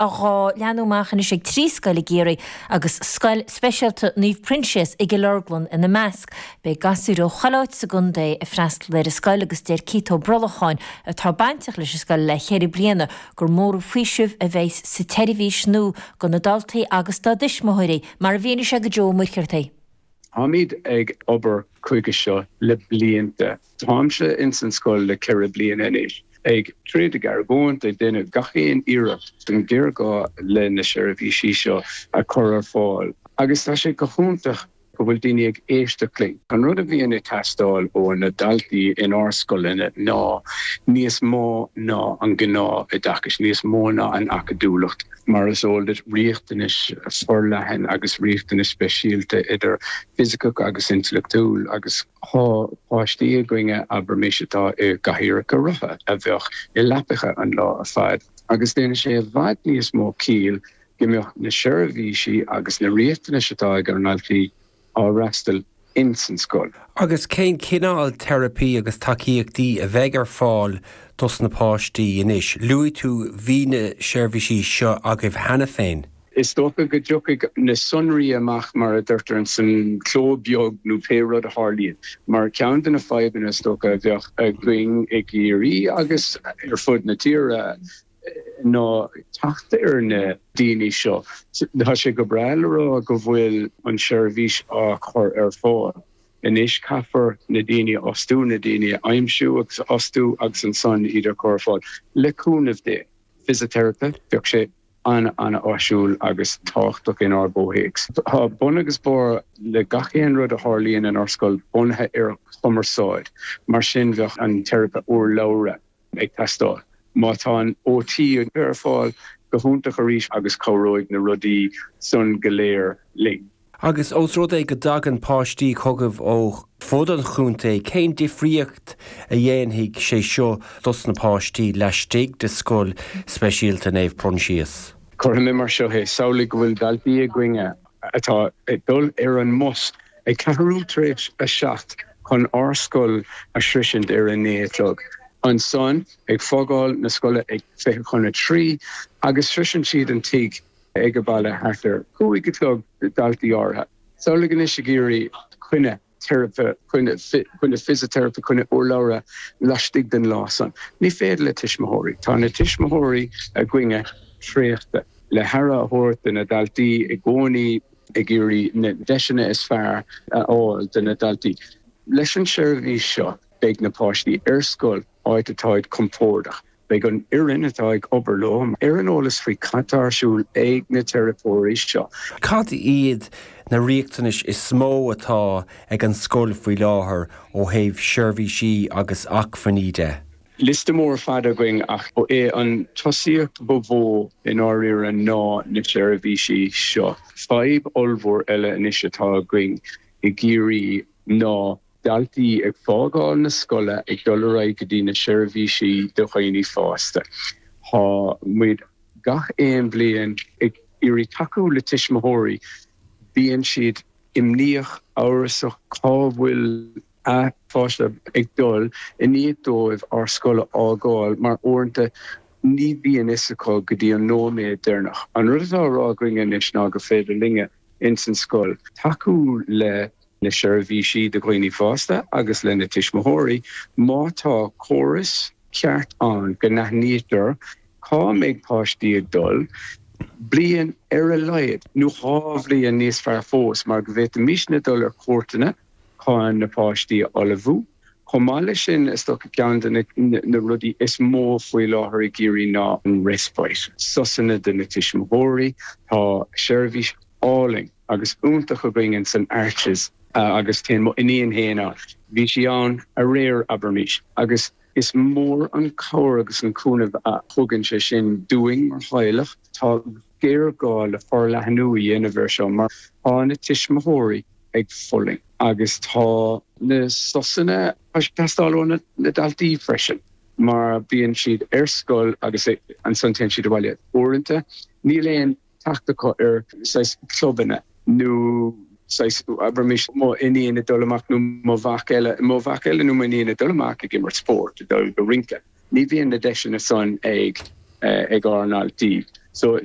Á leathnú amach anois ag 3 scoil i gCiarraí agus Scoil Speisialta Naomh Proinsias i gCill Orglan ina measc. Beidh gasúir ó chuile áit sa gcontae ag freastal ar an scoil agus deir Keith Ó Brolacháin, atá bainteach leis an scoil le ceithre bliana, gur mór an faoiseamh a bheidh sa tseirbhís nua do na daltaí agus dá dtuismitheoirí, mar a mhínigh sé do Joe Ó Muircheartaigh. Táimid ag obair chuige seo le blianta. Táimse ins an scoil le 4 bliana anois, ag troid, ag argóint, ag déanamh gach aon iarracht don ghéarghá le na seirbhísí seo a chur ar fáil agus tá sé go hiontach go bhfuil daoine ag éisteacht linn. An rud a bhíonn ag teastáil ó na daltaí inár scoileanna ná níos mó ná an gnáth-oideachas, níos mó ná an acadúlacht. Mar is eol duit, riachtanais forleathan agus riachtanais speisialta idir fisiceach agus intleachtúil agus tá páistí againne, abraimis, atá i gcathaoireacha rotha, a bheadh i leapacha an lá ar fad agus déanann sé i bhfad níos mó ciall go mbeadh na seirbhísí agus na riachtanais atá ag ár ndaltaí á fhreastal ins an scoil. Agus cén cineál teiripí agus tacaíochtaí a bheidh ar fáil dos na páistí anois? Luaigh tú bhí na seirbhísí seo agaibh cheana féin. Is dócha go dtiocfaidh na sonraí amach mar a deirtear ins an cló beag nó pé rud a tharlaíonn. Mar ceann de na fadhbanna is dócha a bheadh againn i gCiarraí agus ar fud na tíre, ná teacht ar na daoine seo. Tá sé go breá le rá go bhfuil an tseirbhís á chur ar fáil. Anois caithfear na daoine a fhostú, na daoine a aimsiú agus a fhostú agus ansan iad a chur ar fáil. Le cúnamh Dé, fisiteiripe, bheadh sé an-an-áisiúil agus tábhachtach inár gcomhthéacs. Tá bun agus barr le gach aon rud a tharlaíonn inár scoil bunaithe ar chumarsáid, mar sin bheadh an teiripe urlabhra, ag teastáil. Má tá an OT ar fáil, go hiontach arís agus cabhróidh na rudaí san go léir linn. Agus ós rud é go dtagann páistí chugaibh ó fud an chontae, cén difríocht a dhéanfaidh sé seo dos na páistí laistigh de Scoil Speisialta Naomh Proinsias? Cuirfidh mé mar seo é, samhlaigh go bhfuil daltaí againne atá ag dul ar an mbus ag ceathrú tar éis a 7 chun ár scoil a shroisint ar a 9 a chlog. Ansan ag fágáil na scoile ag 2:40 agus sroiseann siad an tigh ag a baile thart ar 5 a chlog, daltaí áirithe. Samhlaigh anois ag iarraidh coinne teiripe, coinne fisiteiripe, coinne urlabhra laistigh den lá san. Ní féidir le tuismitheoirí. Tá na tuismitheoirí againne traochta le haire a thabhairt do na daltaí i gcónaí, ag iarraidh na deiseanna is fearr a fháil do na daltaí. Leis an seirbhís seo beidh na páistí ar scoil, áit atáid compordach. Beidh an fhoireann atá ag obair leo ar an eolas faoi cad tá ar siúl ag na teiripeoirí seo. Cad iad na riachtanais is mó atá ag an scoil faoi láthair ó thaobh seirbhísí agus acmhainní de? Liosta mór fada againn ach ba é an tosaíocht ba mhó i ndáiríre ná na seirbhísí seo. Fadhb ollmhór eile anois atá againn i gCiarraí ná daltaí ag fágáil na scoile ag dul ar aghaidh go dtí na seirbhísí do dhaoine fásta. Tá muid gach aon bhliain ag iarraidh tacú le tuismitheoirí. Bíonn siad imníoch, amhrasach cá bhfuil a bpáiste ag dul i ndiaidh dóibh ár scoil a fhágáil mar uaireanta ní bhíonn fhios acu go dtí an nóiméad deireanach. An rud atá á rá againne anois ná gur féidir linne ins an scoil tacú le na seirbhísí do dhaoine fásta agus le na tuismitheoirí má tá córas ceart ann go n-aithnítear cá mbeidh páistí ag dul, bliain ar a laghad, nó dhá bhliain níos fearr fós, mar go bhféadfaimisne dul ar cuairteanna chun na páistí a ullmhú. Chomh maith leis sin, is dócha ceann de na rudaí is mó faoi láthair i gCiarraí ná an respite, sosanna do na tuismitheoirí. Tá seirbhís álainn agus iontach againn in san Arches agus téann mo iníon féin ann. Bhí sí ann aréir, abraimis, agus is mór an cabhair agus an cúnamh a thugann sé sin dúinn mar theaghlach. Tá géarghá le forleathnú a dhéanamh air seo mar tá na tuismitheoirí ag fulaingt agus tá na sosanna ag teastáil ó na daltaí freisin mar bíonn siad ar scoil agus ansan téann siad abhaile. Uaireanta níl aon teacht acu ar saghas clubanna nó saghas, abraimis, mo iníon ag dul amach nó mo mhac eile, mo mhac eile nó m'iníon ag dul amach ag imirt spóirt, ag dul go rince. Ní bhíonn na deiseanna san ag ag ár ndaltaí. So seo.